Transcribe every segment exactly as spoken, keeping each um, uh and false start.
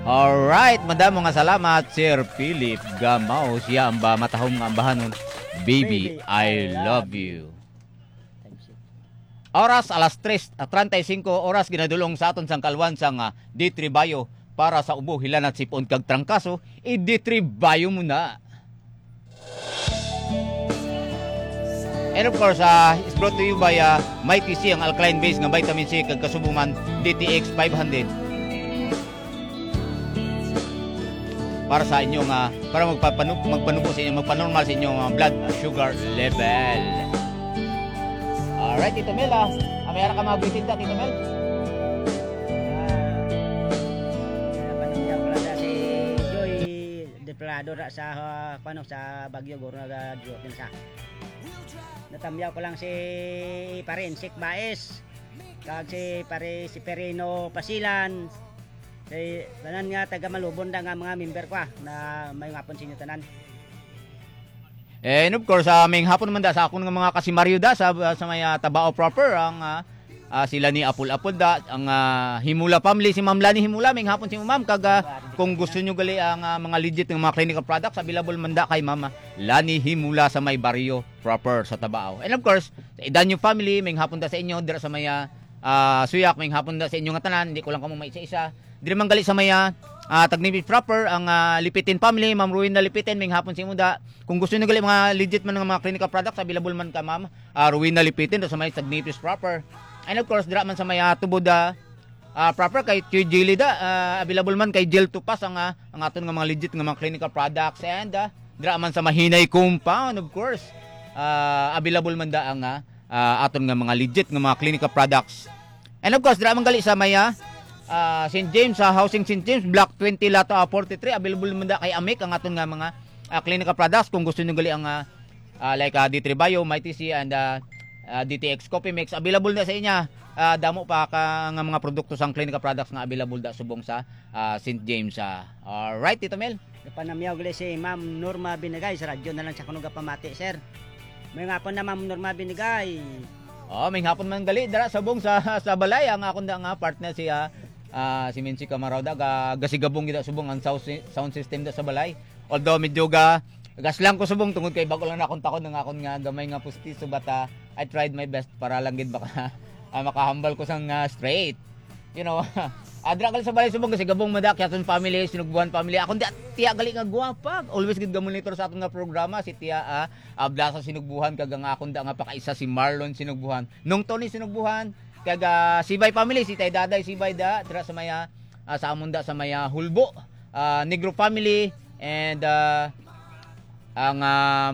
Alright, madamo nga salamat, Sir Philip Gamaw. Siya ang ba matahom nga ambahanon, Baby, I love you. Oras, alas tres treinta y cinco oras, ginadulong sa aton sang kalwan sang, ah, D three Bio para sa ubo, hilanat, sipon kag trangkaso, i-D three Bio mo na. And of course, ah, it's brought to you by, ah, Mighty C, ang alkaline base nga vitamin C, kag kasubo man, D T X five hundred. Para sa inyo nga, para magpapanu-, magpanubo sa inyo, magpanormal sa inyong, ah, blood sugar level. Alright, Tito Mel, ah. Ah, may ara ka mga bisita, Tito Mel? Ah, napanagyan ko lang na si Joy Deplado ra sa, ah, kuno, sa Baguio, guro, nag-, ah, duty na siya. Natamyaw ko lang si Pare Insik Baez, kag si Pare Seferino Pasilan, kay tanan nga taga Malubon da nga mga member ko, ah, na may ngapon sa inyo tanan. And of course, ah, may hapon naman da sa akon nga mga kasimaryo da sa, sa may, ah, Tabao proper, ang, ah, ah, sila ni Apol-Apol da, ang, ah, Himula family, si Ma'am Lani Himula, may hapon si Ma'am, kag, ah, kung gusto nyo gali ang, ah, mga legit nga mga clinical products, available man da kay Ma'am, ah, Lani Himula sa may baryo proper sa Tabao. And of course, sa Idanyo family, may hapon da sa inyo, dira sa may, ah, ah, Suyak, may hapon da sa inyo nga tanan, hindi ko lang kamo may isa-isa. Diri man gali sa may, ah, ah, Tagnipis proper, ang, ah, Lipitin family, Ma'am Rowena Lipitin, may hapon sa imo da. Kung gusto niyo gali mga legit man nga mga clinical products, available man ka, Ma'am, ah, Rowena Lipitin, do sa may Tagnipis proper. And of course, dira man sa may, ah, Tubod, ah, ah, proper kay Kuya Jelly da, ah, available man kay Jel Tupas ang, ah, ang aton nga mga legit nga mga clinical products. And, ah, dira man sa Mahinay Compound, of course, ah, available man da ang, ah, ah, aton nga mga legit nga mga clinical products. And of course, dira man gali sa may, ah, ah, Saint James, sa Housing Saint James, Block twenty, Lot, ah, forty-three, available man da kay Amic ang aton nga mga, ah, clinical products. Kung gusto niyo gali ang, ah, ah, like, ah, D three Bio, Mighty C, and, ah, ah, D T X Coffee Mix, available na sa inya. Ah, damo pa ka nga mga produkto sang clinical products nga available da subong sa, ah, Saint James, ah. Alright, Tito Mel. Napanamyaw gali si Ma'am Norma Binagay sa radyo na lang siya kuno gapamati, sir. May ngapon na, Ma'am Norma Binagay. Oh, may hapon man gali dira subong sa, sa balay ang akon da nga partner si, ah, ah, si Minsi Camarauda, ga-, gasigabong gid subong ang sound si-, sound system da sa balay. Although medyo ga-, gaslang ko subong tungod kay bag-o lang na akong takod ang akon nga gamay nga pustiso, but, ah, I tried my best para lang gid baka, ah, makahambal ko sang, ah, straight. You know, adra gali sa balay subong kasi gabong mada, Kiaton family, Sinugbuhan family. Akon di, tiya gali nga gwapa. Always gid gamonitor sa aton nga programa si Tiya, ah, Ablasa Sinugbuhan, kag ang akon da nga pakaisa si Marlon Sinugbuhan. Nung Tony Sinugbuhan, kag, ah, Sibay family, si Tay Daday Sibay da, dira sa maya, ah, sa amon da sa maya Hulbo, ah, Negro family, and, ah, ang, ah,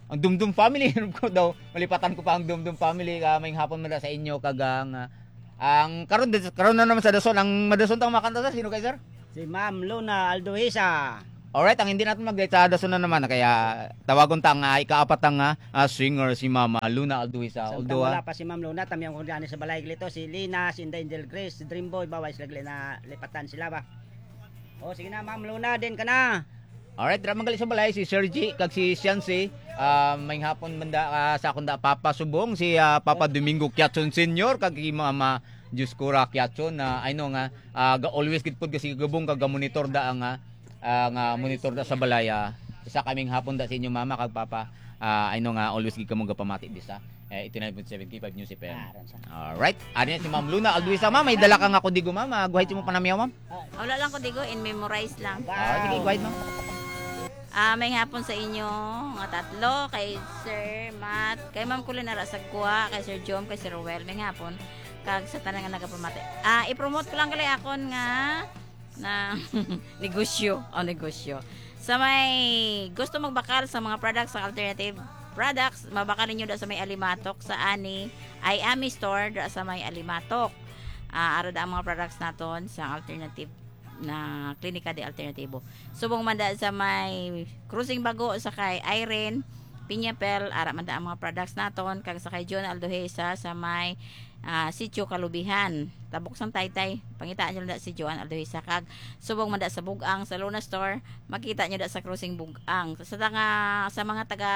ang Dumdum family, ko daw, malipatan ko pa ang Dumdum family, ah, may hapon man da sa inyo, kag ang, ah, ang karon, karon na naman sa Dason, ang madason tang makanta, sir, sino kay sir? Si Ma'am Luna Aldohisa. Alright, ang hindi natin mag-, sa Dason na naman, kaya tawagon ta nga ikaapat ang, ah, ah, singer, si Mama Luna Aldohisa. Samtang Although, ah, wala pa si Ma'am Luna, tamyang ko gani sa balay glito, si Lina, si Inday Angel Grace, si Dreamboy, baway sila gali na lipatan sila ba? O, sige na, Ma'am Luna, din ka na. Alright, dira man gali sa balay si Sir G kag si Siansi. Ah, may hapon man da, ah, sa akon da Papa Subong, si, ah, Papa Domingo Kiatson Senior kag si Mama Dioscora Kiatson, na I know nga, ah, ga-, always gid pud kasi gabong kag ga-monitor da ang, ah, ah, nga monitor da sa balay, ah. Isa kaming hapon da sa inyo mama kag papa. Ah, I know nga always gid kamo gapamati disa. Eh, eighty-nine point seven K five News F M. Ah, aron sa. Alright. Ari na si Ma'am Luna Alduisa, ma'am. May dala ka nga kodigo, ma'am. Ah, guhay mo panamyaw, ma'am. Ah, wala lang kodigo, in memorize lang. Ah, sige, go ahead, ma'am. Ah, may hapon sa inyo nga tatlo, kay Sir Matt, kay Ma'am Colin ara sa Gwa, kay Sir Jom, kay Sir Roel, may hapon. Kag sa tanan nga nagapamati. Ah, i-promote ko lang gali akon nga na negosyo. O, negosyo. Sa may gusto magbakal sa mga products sa alternative products, mabakal ninyo da sa may Alimatok, sa ani, ay Ami Store, da sa may Alimatok. Ah, ara da ang mga products naton sa alternative na Klinika de Alternatibo. Subong man da sa may Crossing Bago, sa kay Irene Piñapel, ara man da ang mga products naton, kag sa kay John Aldohesa sa may, ah, Sitio Kalubihan. Tabok sang Taytay, pangitaan nyo lang da si Joan Aldohesa, kag subong man da sa Bugang, sa Luna Store, makita nyo da sa Crossing Bugang. Sa tanga, sa mga taga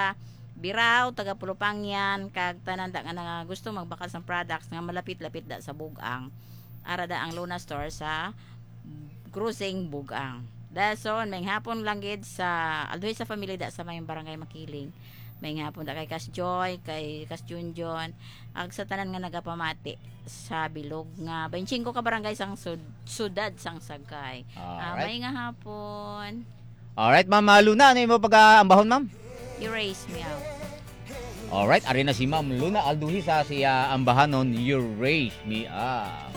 Birao, taga Pulupangyan, kag tanan da nga, nga gusto magbakal sang products nga malapit-lapit da sa Bugang. Ara da ang Luna Store sa Crossing Bugang. Dason, may hapon lang gid sa Aldoy sa Family da sa may Barangay Makiling. May hapon da kay Kas Joy, kay Kas Junjun, ag sa tanan nga nagapamati sa bilog nga twenty-five ka barangay sang sud- sudad sang Sagkay. Ah, Alright. May nga hapon. Alright, Ma'am ah, Luna, ano imo pag-aambahon, Ma'am? You raise me up. Alright, ari na si Ma'am Luna Alduhi sa siya ambahanon, You Raise Me Up.